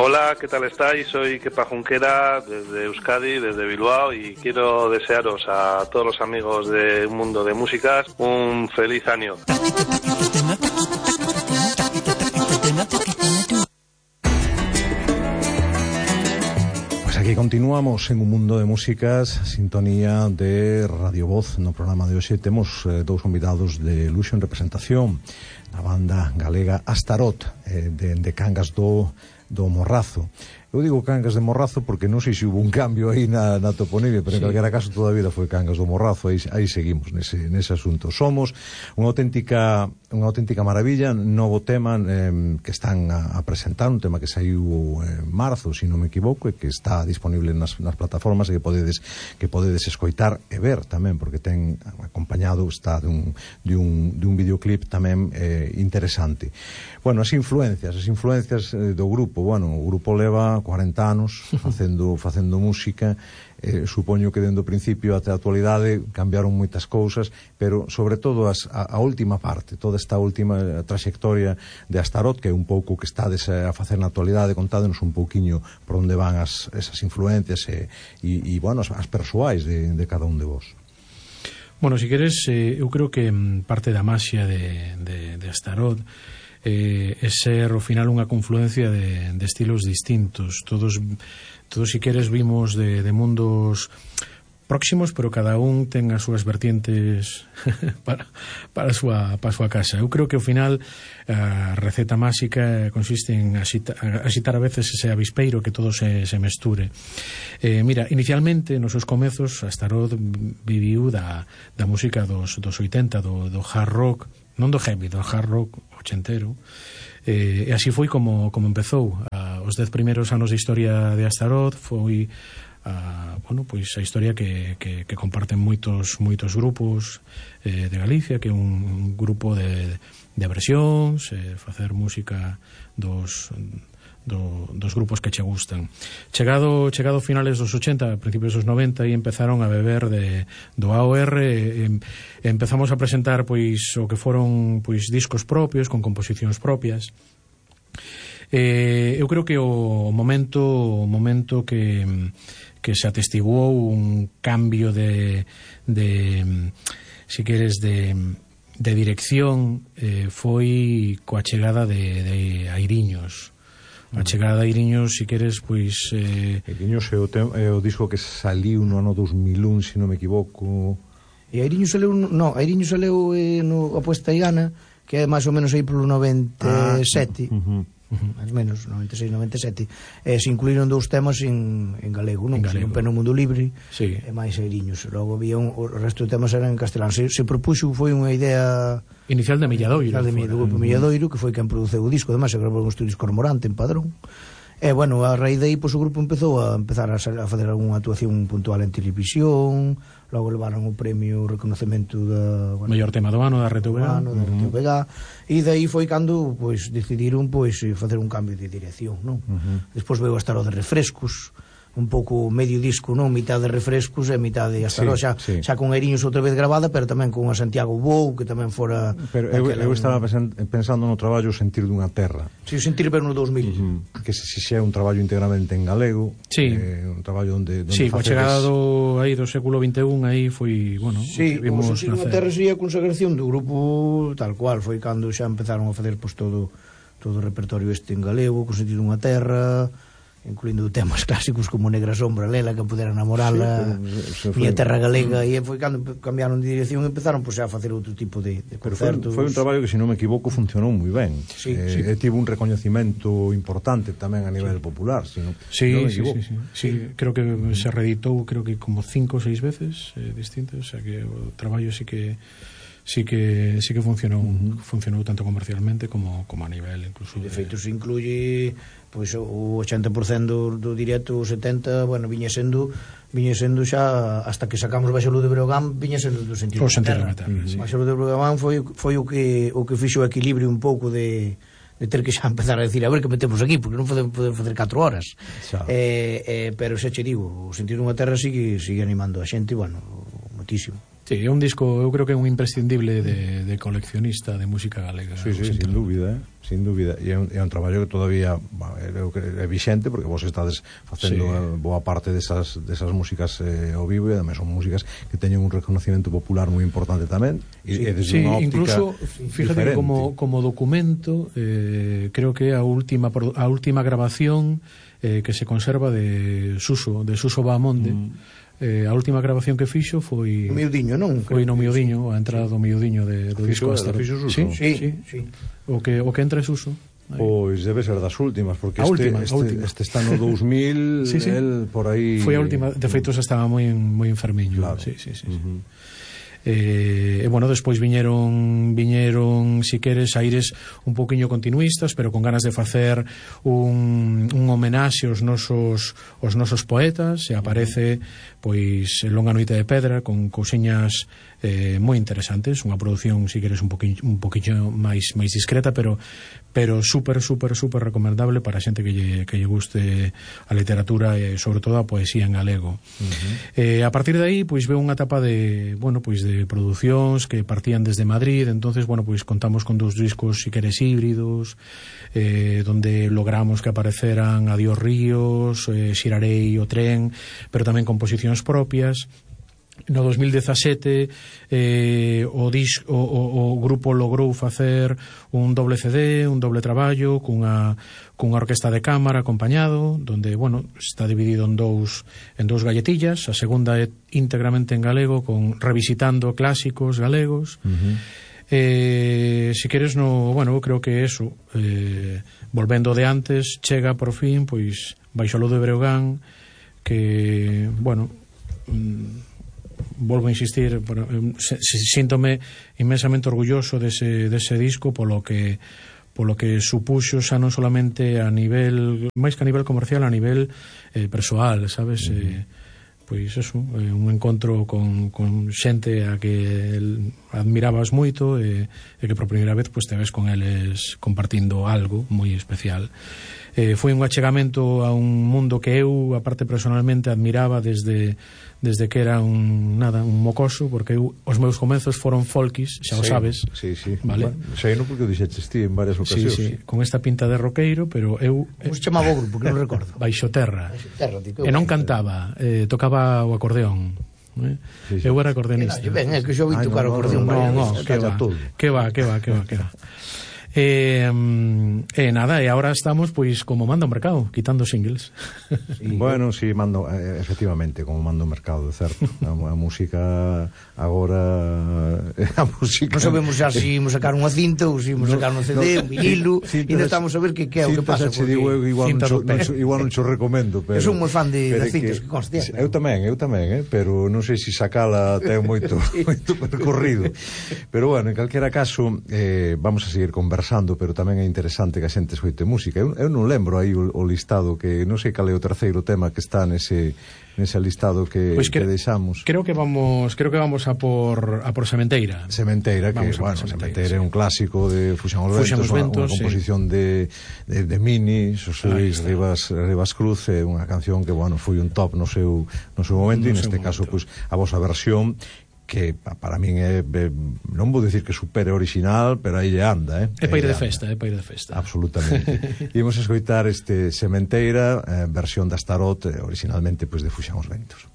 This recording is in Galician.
Hola, ¿qué tal estáis? Soy Kepa Junquera desde Euskadi, desde Bilbao, y quiero desearos a todos los amigos de Un Mundo de Músicas un feliz año. Pues aquí continuamos en Un Mundo de Músicas, sintonía de Radio Voz. No programa de hoxe temos dous convidados de luxo en representación na banda galega Astaroth, de Cangas do Morrazo. Eu digo Cangas de Morrazo porque non sei se hubo un cambio aí na toponimia, pero en calquera caso toda a vida foi Cangas do Morrazo. Aí seguimos nese asunto. Somos unha auténtica maravilla. Novo tema que están a presentar, un tema que saiu en marzo, se non me equivoco, e que está disponible nas plataformas e que podedes escoitar e ver tamén, porque ten acompañado, está dun videoclip tamén interesante. Bueno, as influencias do grupo. Bueno, o grupo leva 40 anos facendo música. Supoño que dende o principio até a actualidade cambiaron moitas cousas, pero sobre todo a última parte, toda esta última trayectoria de Astaroth, que é un pouco que estades a facer na actualidade. Contádenos un pouquiño por onde van esas influencias e bueno, as persoais de cada un de vos. Bueno, si queres, eu creo que parte da maxia de Astaroth é ser ao final unha confluencia de estilos distintos. Todos si queres vimos de mundos próximos, pero cada un ten as súas vertientes para a súa casa. Eu creo que ao final a receta máxica consiste en axitar a veces ese avispeiro, que todo se mesture. Mira, inicialmente nos seus comezos Astaroth viviu da música dos 80, do hard rock, non do heavy, do hard rock ochentero, e así foi como empezou. Os 10 primeiros anos de historia de Astaroth foi bueno, pois a historia que comparten moitos grupos de Galicia, que é un grupo de versións, facer música dos grupos que che gustan. Chegado finales dos 80, principios dos 90, e empezaron a beber do AOR, empezamos a presentar pois o que foron pois discos propios, con composicións propias. Eu creo que o momento que se atestiguou un cambio de si queres de dirección foi coa chegada de Airiños. A chegada de Airiños, si queres, pois... Airiños é o disco que saliu no ano 2001, se non me equivoco. E Airiños saleu no Apuesta e Gana, que é máis ou menos aí polo 97. Máis ou menos, 96-97. Se incluíron dous temas en galego, non? Un Pé no Mundo Libre, sí. E máis Airiños. Logo había o resto de temas eran en castelán. Se propuxo, foi unha idea inicial de Milladoiro, do grupo Milladoiro, que foi quen produceu o disco. Además se grabou en estudios Cormorante en Padrón. E bueno, a raíz de aí, pois o grupo empezou a facer algunha actuación puntual en televisión. Logo levaron o premio, o reconocemento da mellor tema do ano da RTVG, e de aí foi cando pois decidiron pois facer un cambio de dirección, non? Despois veio a Astaroth de refrescos, un pouco medio disco, non? Mitad de refrescos e mitad de Astaroth, xa con Airiños outra vez grabada, pero tamén con a Santiago Bou, que tamén fora... Pero eu estaba pensando no traballo Sentir dunha terra. Si, Sentir pero no 2000. Que se é un traballo integramente en galego, un traballo onde coa chegada do século XXI, aí foi, bueno... Si, o Sentir dunha terra sería a consagración do grupo tal cual, foi cando xa empezaron a facer pois todo o repertorio este en galego, con Sentir dunha terra, incluindo temas clásicos como Negra Sombra, Lela, que pudera namorala, Miña Terra Galega, e foi cando cambiaron de dirección e empezaron pois a facer outro tipo de concertos. Foi un traballo que, se non me equivoco, funcionou moi ben. E tivo un recoñecimento importante tamén a nivel popular, se non me equivoco. Sí, creo que se reeditou como 5 ou 6 veces distintas, o sea que o traballo sí que funcionou tanto comercialmente como a nivel incluso de feito se incluye pois o 80% do directo, o 70%, bueno, viña sendo xa hasta que sacamos Baixo de Breogán, viña sendo do Sentir dunha terra. Baixo de Breogán foi o que fixo o equilibrio un pouco de ter que xa empezar a decir a ver que metemos aquí, porque non podemos facer 4 horas. Pero xa che digo, o Sentir dunha terra sigue animando a xente, bueno, moitísimo. Sí, é un disco, eu creo que é un imprescindible de coleccionista de música galega. Sí, sin dúbida, sin dúbida. E é un traballo que todavía é vixente, porque vos estades facendo boa parte desas músicas ao vivo, e además son músicas que teñen un reconocimiento popular moi importante tamén, e desde unha óptica incluso, fíjate, como documento, creo que a última grabación que se conserva de Suso Bahamonde, a última grabación que fixo foi o Miudiño, non? Foi no Miudiño, a entrada do Miudiño do disco Astaroth. Sí. O que entra é Suso. Pois debe ser das últimas, porque este está no 2000, el por aí... Foi a última, de feito xa estaba moi enfermiño. Claro. Sí. E bueno, despois viñeron si queres aires un poquinho continuistas, pero con ganas de facer un homenaxe aos nosos poetas, e aparece pois Longa Noite de Pedra con cousiñas moi interesantes, unha produción si queres un poquinho máis discreta, pero super recomendable para a xente que lle guste a literatura e sobre todo a poesía en galego. A partir de aí pois veo unha etapa de producións que partían desde Madrid. Entonces, pois contamos con 2 discos si queres híbridos, donde logramos que apareceran Adiós Ríos, Xirarei o Tren, pero tamén composicións propias. No 2017 o grupo logrou facer un doble CD, un doble traballo cunha orquesta de cámara acompañado, donde, está dividido en dous galletillas. A segunda é íntegramente en galego, con revisitando clásicos galegos. Si queres, creo que eso, volvendo de antes, chega por fin pois Baixo o Ludo de Breogán, que, volvo a insistir, síntome inmensamente orgulloso dese disco polo que supuxo xa non solamente a nivel, máis que a nivel comercial, a nivel persoal, sabes? Pois eso, un encontro con xente a que admirabas moito, e que por primeira vez te ves con eles compartindo algo moi especial. Foi un achegamento a un mundo que eu, aparte personalmente, admiraba desde que era un mocoso, porque os meus comezos foron folkis, xa o sabes. Sí. Vale? Sei non porque o dixeches ti en varias ocasións. Sí, con esta pinta de roqueiro, pero eu... Como se chamaba o grupo, que non recordo? Baixo Terra. E non cantaba, tocaba o acordeón. Eu era acordeonista. É que xo vi tocar o acordeón. Non, que va. Nada, e agora estamos pois como manda o mercado, quitando singles. Mando, efectivamente, como manda o mercado, de certo. A música agora non sabemos xa se imos sacar unha cinta ou se imos sacar un CD, un vinilo, e non estamos a ver que é o que pasa. Igual non xo recomendo, pero eu son moi fan das cintas que conste. Eu tamén, pero non sei se sacala ten moito percorrido. Pero en calquera caso, vamos a seguir conversando, pero tamén é interesante que a xente escoite música. Eu non lembro aí o listado, que non sei cal é o terceiro tema que está nese listado que deixamos. Creo que vamos a por Sementeira. Sementeira é un clásico de Fuxan os Ventos, unha composición de Mini, Xosé Luis Rivas Cruz, é unha canción que foi un top no seu momento, e neste caso a vosa versión, que para min é, non vou dicir que supere original, pero aí anda, É para ir de festa. Absolutamente. Imos escoitar este Sementeira, versión da Astaroth, originalmente de Fuxan os Ventos.